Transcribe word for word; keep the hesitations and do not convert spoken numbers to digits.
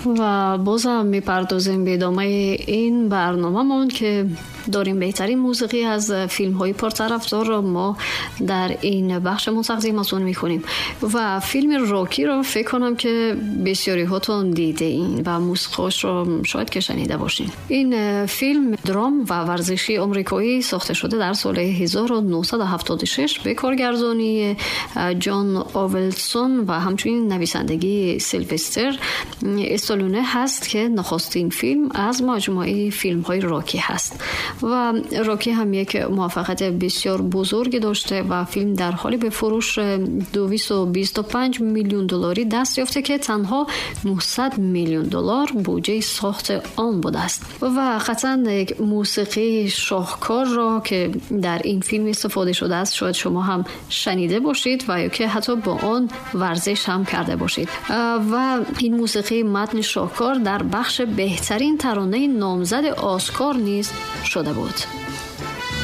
Ва бозам мепардозем ба идомаи ин барномамон, ки дорем беҳтарин мусиқӣ аз филмҳои пуртарафдорро мо дар ин бахшамон тақдиматон мекунем. Ва филми Рокиро фикр кунам, ки бисёриҳотон дидаин ва мусиқиашро шояд ки шунида бошед. Ин филм драм ва варзишии амрикоӣ сохта шуда дар соли ҳазору нӯҳсаду ҳафтоду шаш ба коргардонии Ҷон Овелсон ва ҳамчунин нависандагии Силвестр Сталлоне ҳаст, ки нахустин филм аз маҷмӯаи филмҳои Рокӣ ҳаст. Ва Рокӣ ҳам як муваффақияти бисёр бузурге дошта ва филм дар ҳоли ба фурӯш дусаду бисту панҷ миллион долларӣ даст ёфта, ки танҳо нӯҳсад миллион доллар буҷаи сохти он будааст. Ва қатъан як мусиқии шоҳкорро, ки дар ин филм истифода шудааст, шояд шумо ҳам шунида бошед ва ё ки ҳатто бо он варзиш ҳам карда бошед. Ва ин мусиқии матни шоҳкор дар бахши беҳтарин таронаи номзади Оскар низ шуда буд.